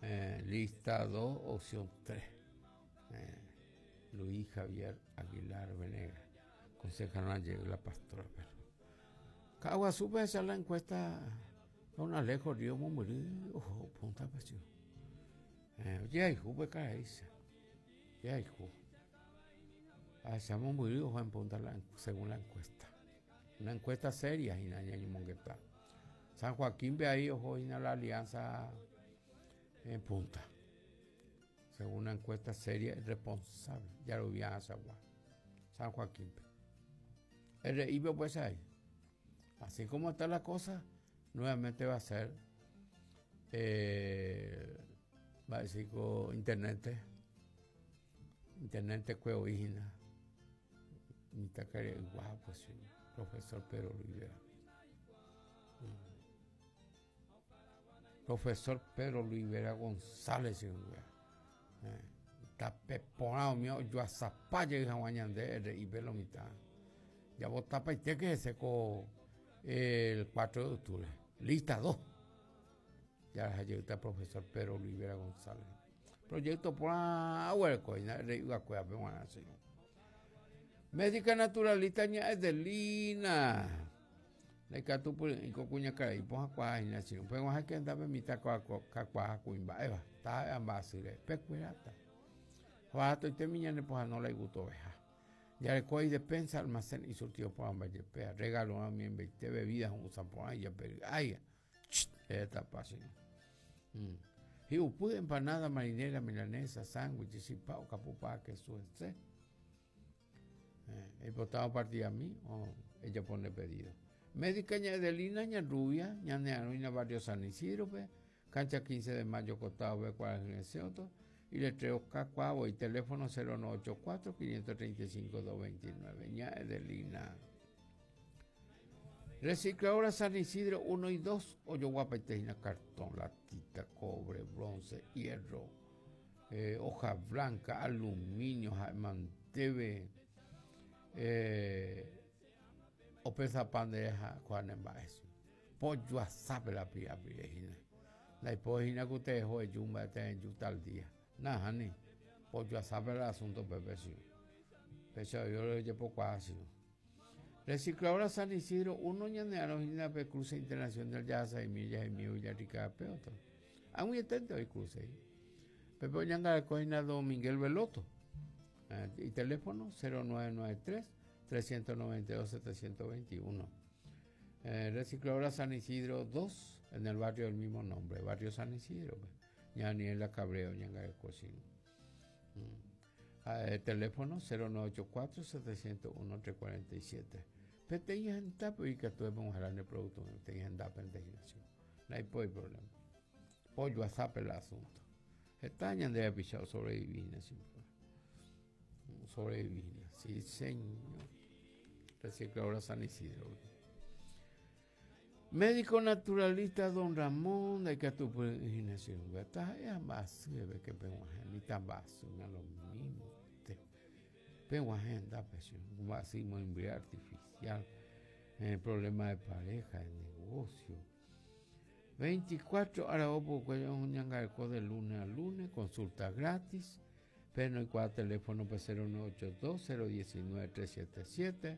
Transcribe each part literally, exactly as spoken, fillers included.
Eh, lista dos, opción tres. Eh, Luis Javier Aguilar Venegas. Concejal llegó la pastora. Pero. Caaguazúpe esa la encuesta. Don Alejo Río Mumburí. Ojo, punta pasión. Eh, ya hay jupe caraíza. Ya hay ju. Hacemos muy ojo en punta la, según la encuesta. Una encuesta seria, y Monguetá. San Joaquín ve ahí, ojo, y la alianza en punta. Según una encuesta seria y responsable. Ya lo vi a San Joaquín. R I B pues ahí. Así como está la cosa, nuevamente va a ser, eh, va a decir con internet, internet cueoígina. Guapo, sí, profesor Pedro Luis Vera. Mm. Profesor Pedro Luis Vera González, sí, eh, está peponado mío, yo a zapalla y jaguañande, R I B lo mitad. Ya vos tapa y te que se seco el cuatro de octubre. Lista dos. Ya está el profesor Pedro Luis Vera González. Proyecto por agua, Médica naturalista ña Edelina. La catu por cuña cara y poja cuajina sino pero hay que andar mitad cua cuimba eva ta ambasire pecuerata. Vato y temiña ne poja no le gustó veja. Ya le coi despensa almacén y surtido por ambas yepea regalo a mi en veinte bebidas un zapón ya pero ay esta pasión. Y upude empanada marinera milanesa sándwich chipao capupá queso ese. Eh, el botado partida a mí o ella pone pedido. Médica ña Edelina ña Rubia ña Nearuina barrio San Isidro pe, cancha quince de mayo costado B cuarenta y ocho y le treo cacuabo y teléfono cero nueve ocho cuatro quinientos treinta y cinco doscientos veintinueve ña Edelina. Recicladora San Isidro uno y dos, hoyo guapetejina, cartón, latita, cobre, bronce, hierro, eh, hoja blanca, aluminio, manteve, eh, o pesa pandeja, cuanembaesio. Pollo a sabe la pia pirejina. La hipojina que ustedes juegan yumba, te yuta al día. Nada, ni. Pollo a sabe el asunto, pepe, sí. Pecho, yo lo llevo cuasi. Recicladora San Isidro, uno ñanearon pe cruce internacional ya seis millas y mil Villarrica Peoto. A un intento de cruce. Pepe Ñanga cogina don Miguel Veloto. Eh, y teléfono cero nueve nueve tres, trescientos noventa y dos, setecientos veintiuno. Eh, Recicladora San Isidro dos, en el barrio del mismo nombre, barrio San Isidro. Ñaniela Cabreo, Ñanga de Cocina. Mm. Eh, teléfono cero nueve ocho cuatro, setecientos uno, trescientos cuarenta y siete. Peteña en tapo y que tuvimos un grande producto en tapa en destinación. No hay problema. Pollo a zape el asunto. Está de pichado sobrevivir, sobrevivir. Sí, señor. Recicladora San Isidro. Médico naturalista don Ramón de Catupinación. Está más que ni tan vaso, no lo mismo. Así muy artificial, el problema de pareja, de negocio. veinticuatro horas de lunes a lunes, consulta gratis. Pero no hay cuatro teléfono cero nueve ocho dos, cero diecinueve, tres siete siete.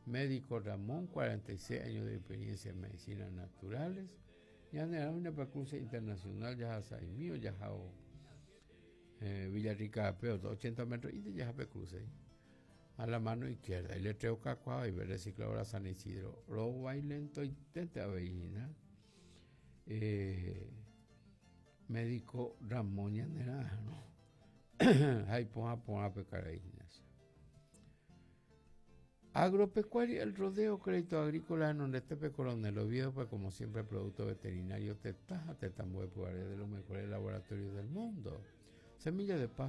Médico Ramón, cuarenta y seis años de experiencia en medicinas naturales. Ya en una cruce internacional, ya mío, ya eh, Villarrica, Peoto, ochenta metros, y de ya cruce a la mano izquierda. Y le traigo cacuao y ver recicladora San Isidro. Roba y lento y tente avellina. Eh, médico Ramón Yanera, ¿no? Ay, ponga, ponga, pecareinas. Agropecuaria, el rodeo, crédito agrícola en donde este Coronel Oviedo, pues como siempre, producto veterinario, tetaja, tetambo de de los mejores laboratorios del mundo. Semillas de paz.